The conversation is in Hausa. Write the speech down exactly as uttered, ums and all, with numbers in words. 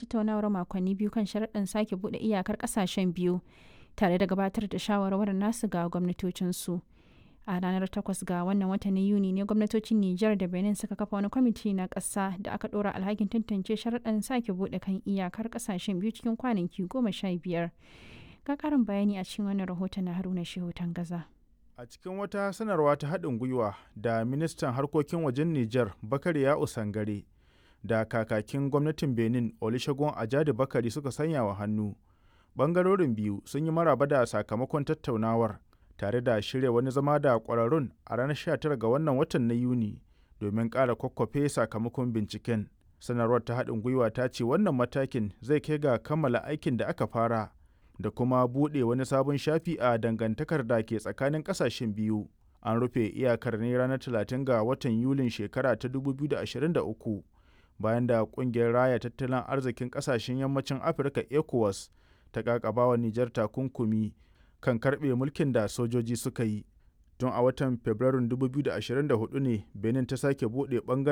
Tattaunawar makonni biyu kan sharuɗan sake buɗe iyakar ƙasashen biyu, tare da gabatar da shawarwarin nasu ga gwamnatocinsu. A ranar takwas ga wannan watan na Yuni ne gwamnatocin Nijar da Benin suka kafa wani kwamiti na ƙasa da aka ɗora alhakin tantance sharuɗan sake buɗe kan iyakar ƙasashen biyu cikin kwanaki goma sha biyar. Ga ƙarin bayani a cikin wannan rahoton na Haruna Shehu Tangaza. A cikin wata sanarwa ta haɗin gwiwa da ministan harkokin wajen Nijar Bakari Ya'u Sangare da kakakin gwamnatin Benin Olusegun Ajadi Bakari suka sanya wa hannu. Bangarorin biyu sun yi maraba da sakamakon tattaunawar tare da shirya wani zama da ƙwararrun a ranar sha tara ga wannan watan na Yuni domin ƙara kwakwafe sakamakon binciken. Sanarwar ta haɗin gwiwa ta ce wannan matakin zai kai ga kammala aikin da aka fara da kuma buɗe wani sabon shafi a dangantakar da ke tsakanin ƙasashen biyu. An rufe iyakar ne ranar talatin ga watan Yulin shekara ta dubu biyu da ashirin da uku bayan da ƙungiyar Raya Tattalin Arzikin Ƙasashen Yammacin Afirka ECOWAS ta ƙaƙabawa Nijar takunkumi kan karɓe mulkin da sojoji suka yi. Tun a watan Fabrairun dubu biyu da ashirin da hudu ne Benin ta sake buɗe ɓangare